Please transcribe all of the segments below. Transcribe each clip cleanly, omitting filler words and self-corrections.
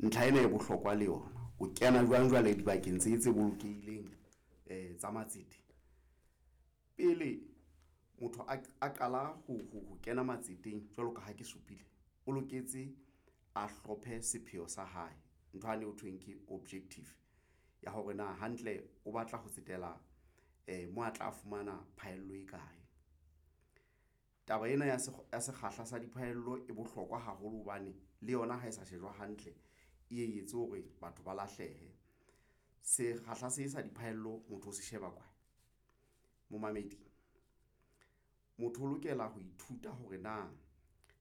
Ntlha ena e bohlokwa le yona. O kena jwang jwale dibakeng tse tse bolokehileng tsa matsete? Pele motho a qala ho kena matseteng, jwalo ka ha ke supile, o loketse a hlophe sepheo sa hae, ntho yane ho thweng ke objective ya hore na hantle o batla ho tsetela mo a tla fumana phaello e kae. Taba ena ya sekgahla sa diphaello e bohlokwa haholo hobane le yona ha e sa shejwa hantle, e ye etse hore batho ba lahlehe. Sekgahla se sa diphaello motho o se sheba kae momamedi, motho o lokela ho ithuta hore na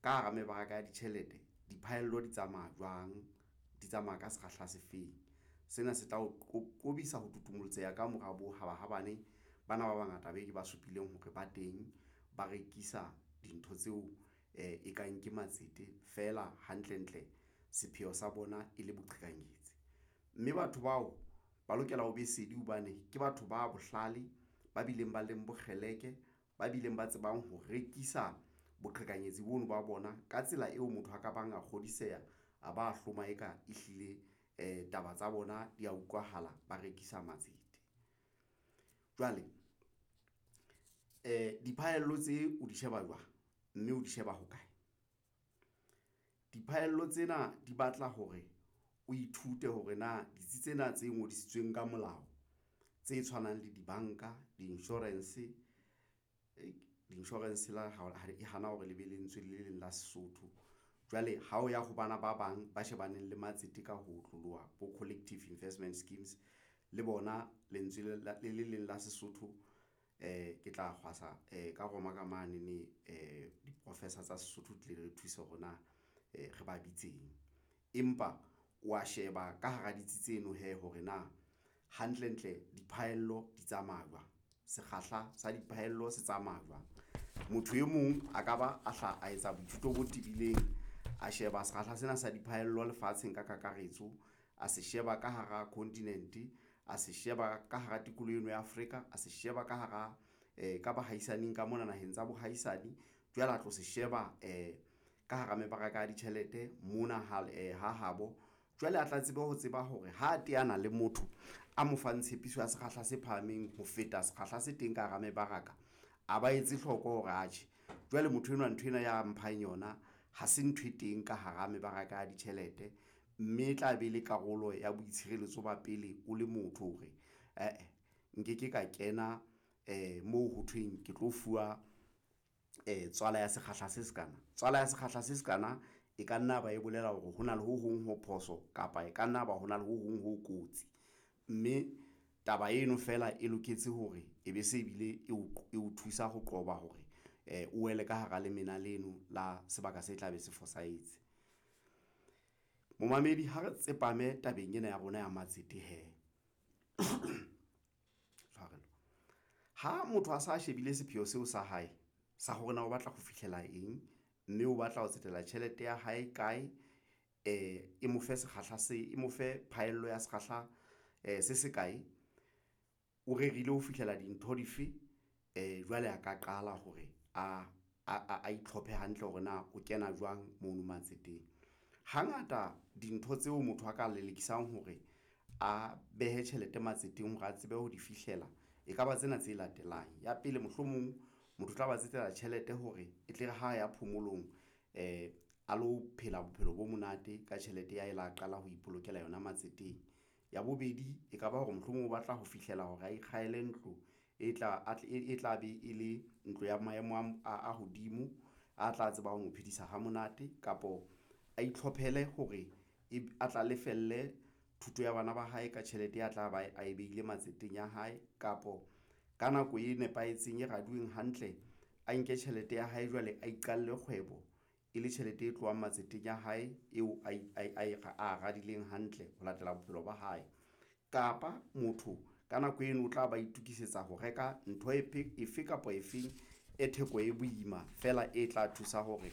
ka hara mebaraka ya ditjhelete diphaello di tsamaya jwang, di tsamaya ka sekgahla se feng. Sena se tla o qobisa ho tutumolontseha ka mora bohabahabane bana ba bangata be ke ba supileng hore ba teng ba rekisa dintho tseo e kang ke matsete feela hantle ntle sepheo sa bona e le boqhekanyetsi, mme batho bao ba lokela ho be sedi hobane ke batho ba bohlale, ba bileng ba leng bokgeleke, ba bileng ba tsebang ho rekisa boqhekanyetsi bono ba bona ka tsela eo motho a ka bang a kgodiseha, a ba hloma eka ehlile taba tsa bona di ya utlwahala, ba rekisa matsete. Jwale diphahello tse o di sheba jwang, mme o di sheba hokae? Diphahello tsena di batla hore o ithute hore na ditsi tsena tse ngodisitsweng ka molao tse tshwanang le dibanka, di-insurance, di-insurance e hana hore le be lentswe le leng la Sesotho. Jwale ha o ya ho bana ba bang ba shebaneng le matsete ka ho otloloha bo collective investment schemes le bona lentswe le le leng la Sesotho ke tla kgwasa ka roma ka mane ne di-professor tsa Sesotho di tle di re thuse hore na re ba bitseng, empa wa sheba ka hara ditsi tseno hee hore na hantlentle diphahello di tsamaya jwang, sekgahla sa diphahello se tsamaya jwang. Motho e mong a ka ba a hla a etsa boithuto bo tebileng, a sheba sekgahla sena sa diphahello lefatsheng ka kakaretso, a se sheba ka hara continent, a se sheba ka hara tikoloho eno ya Afrika, a se sheba ka hara ka bahaisaneng ka mona naheng tsa bohaisane, jwale a tlo se sheba ka hara mebaraka ya ditjhelete mona ha habo. Jwale a tla tsebe ho tseba hore ha teana le motho a mo fang tshepiso ya sekgahla se phahameng ho feta sekgahla se teng ka hara mebaraka, a ba etse hloko hore atjhe jwale motho enwa nthwena ya mphang yona ha se ntho e teng ka hara mebaraka ya ditjhelete, mme e tla be le karolo ya boitshireletso ba pele o le motho hore ae nke ke ka kena moo ho thweng ke tlo fuwa tswala ya sekgahla se sekana. Tswala ya sekgahla se sekana e ka nna ba e bolela hore hona le ho hong ho phoso kapa e ka nna ba hona le ho hong ho kotsi, mme taba eno feela e loketse hore e be se bile e o thusa ho qoba hore o wele ka hara lemena leno la sebaka se tla be se fosahetse. Momamedi ha re tsepame tabeng ena ya rona ya matsete hee tshwarelo, ha motho a sa shebile sepheo seo sa hae sa hore na o batla ho fihlela eng, mme o batla ho tsetela tjhelete ya hae kae, e mo fe sekgahla se e mo fe phaello ya sekgahla se se kae, o rerile ho fihlela dintho dife jwale a ka qala hore a itlhophe hantle hore na o kena jwang mono matseteng. Hangata dintho tseo motho a ka lelekisang hore a behe tjhelete matseteng hore a tsebe ho di fihlela, ekaba tsena tse latelang. Ya pele, mohlomong motho o tla ba tsetela tjhelete hore e tle re ha ya phomolong a lo phela bophelo bo monate ka tjhelete ya e la qala ho ipolokela yona matseteng. Ya bobedi, ekaba hore mohlomong o batla ho fihlela hore a ikgahele ntlo e tla be e le ntlo ya maemo a hodimo, a tla tseba ho mo phedisa ha monate kapo a itlhophele hore a tla lefelle thuto ya bana ba hae ka tjhelete ya tla ba a behile matseteng ya hae, kapo ka nako e nepahetseng e raduweng hantle, a nke tjhelete ya hae jwale a iqalle kgwebo e le tjhelete e tlohang matseteng ya hae eo a radileng hantle ho latela bophelo ba hae. Kapa motho ka nako eno o tla ba itokisetsa ho reka ntho efe kapa efeng e theko e boima feela e tla thusa hore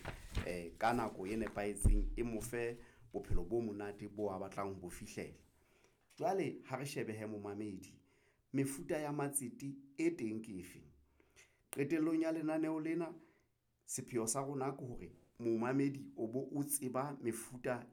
ka nako e nepahetseng e mo fe bophelo bo monate bo a batlang ho bo fihlela. Jwale ha re shebe hee momamedi, mefuta ya matsete e teng ke efe? Qetellong ya lenaneo lena, sepheo sa rona ke hore momamedi o bo o tseba mefuta.